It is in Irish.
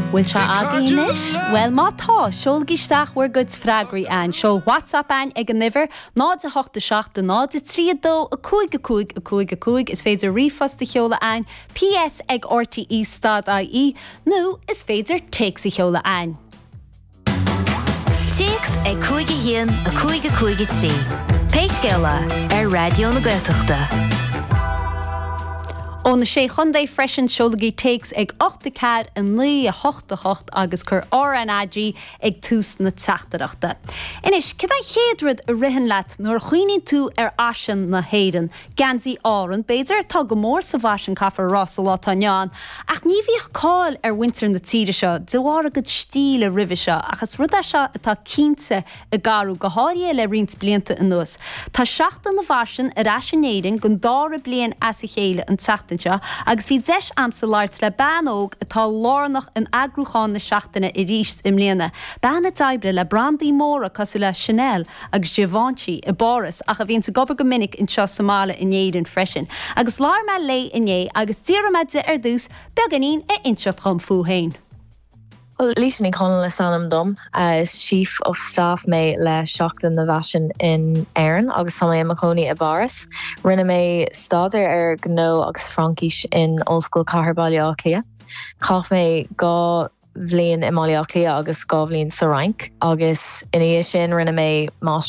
Bhfuil sé agaibh anois? Bhuel, má tá, seolaigí isteach bhur gcuid freagraí a'ainn. Seol WhatsApp a'ainn ag an uimhir, 0 8 7 0 3 2 5 5 5 5. Is féidir ríomhphost a sheoladh a'ainn, ps ag rte stad ie, nó is féidir téacs a sheoladh a'ainn. Téacs ag 5 1 5 5 3. Pé scéal é, ar Raidió na Gaeltachta. Ó na Sé Chontae freisin, seolaigí téacs ag 8 4 9 8 8 agus cuir RnaG ag tús na teachtaireachta. Anois, céard é an chéad rud a ritheann leat nuair a chuimhníonn tú ar fhaisean na hÉireann? Geansaí Árann, b'fhéidir, atá go mór sa bhfaisean, caithfear a rá, sa lá atá inniu ann, ach ní bhíodh cáil ar mhuintir na tíre seo de bharr a gcuid stíle roimhe seo, ach is rud é seo atá cinnte ag athrú, go háirithe le roinnt blianta anuas. Tá Seachtain na bhFaisean ar ais in Éirinn don dara bliain as a chéile an tseachtain seo agus bhí deis a'msa labhairt le bean óg atá lárnach in eagrúchán na seachtaine arís i mbliana, bean a d'oibrigh le brandaí móra cosúil le Chanel, agus Givenchy i bPáras ach a bhíonns ag obair go minic anseo sa mbaile in Éirinn freisin. Agus labhair mé léi inné agus d'iarr mé di ar dtús beagáinín a inseacht dhom fúithi féin. Bhuel, Laoise Ní Chonaill is ainm dom. Is Chief of Staff mé le Seachtain na bhFaisean in Éirinn agus tá mé i mo chónaí i bPáras. Rinne mé staidéar ar Ghnó agus Fraincis in Ollscoil Chathair Baile Átha Cliath. Chaith mé 2 bhliain i mBaile Átha Cliath agus 2 bhliain sa Fhrainc agus ina dhiaidh sin rinne mé máistreacht.